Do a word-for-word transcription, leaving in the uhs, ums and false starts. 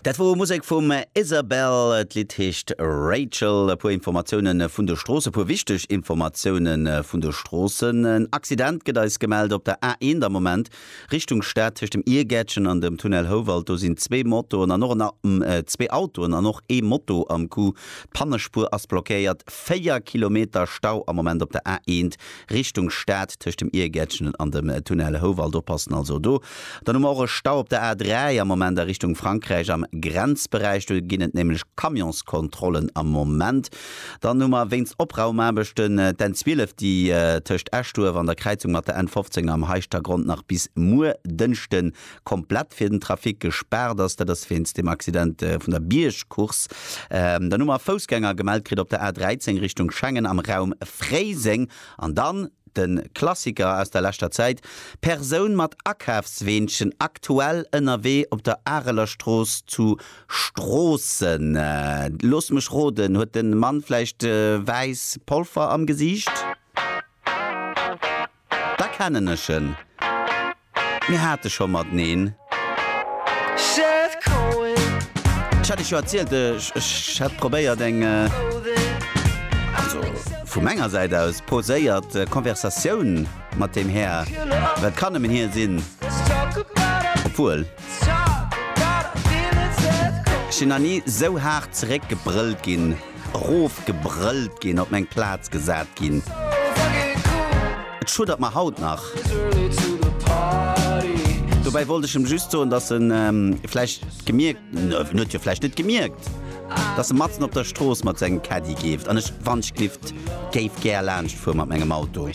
Dat wor Musek vum Isabel, d'Lidd heescht Rachel. E puer Informatioune vun de Stroossen, e puer wichteg Informatioune vun de Stroossen. En Accident gëtt eis gemellt op der A eent am Moment Richtung Stad tëscht dem Iergäertchen an dem Tunnel Houwald. Do sinn zwee Motoen an och en zwee Autoen an och ee Moto am Coup. D'Pannespuer ass blockéiert. Véier Kilometer Stau am Moment op der A eent Richtung Stad tëscht dem Iergäertchen an dem Tunnel Houwald. Oppassen also do. Dann hu mer och e Stau op der A dräi am Moment a Richtung Frankräich am Grenzberäich. Do ginn et nämlech Camionskontrollen am Moment. Dann hu mer wéinst Opraumaarbechten d'N zwielef, déi tëscht Eschduerf an der Kräizung mat der N fofzéng am Heischtergronn nach bis muer Dënschde komplett fir den Trafic gespaart ass. Dat ass wéinst dem Accident vun der Biergcourse. Dann hu mer Foussgänger gemellt kritt op der A dräizéng Richtung Schengen am Raum Fréiseng. An dann de Klassiker aus der leschter Zäit, Persoun mat Akafsweenchen aktuell ënnerwee op der Arelerstrooss zu Stroossen. Looss mech roden, huet de Mann vläicht wäiss Polfer am Gesiicht? Da kennen ech en. Mir hate scho mateneen. Ech hat iech jo erzielt, ech hätt probéiert eng, also vu menger Säit aus poséiert Konversatioun mat deem Här, well et kann nëmmen hie sinn, obwuel ech sinn nach ni sou haart zeréckgebrëllt ginn, erofgebrëllt ginn, op meng Plaz gesat ginn. Et schuddert mer haut nach. Dobäi wollt ech em just soen, dass en vläicht gemierkt, en huet jo vläicht net gemierkt, dass e matzen op der Strooss mat sengem Caddy geeft an ech wannschglift géif gär laanscht fuere mat mengem Auto.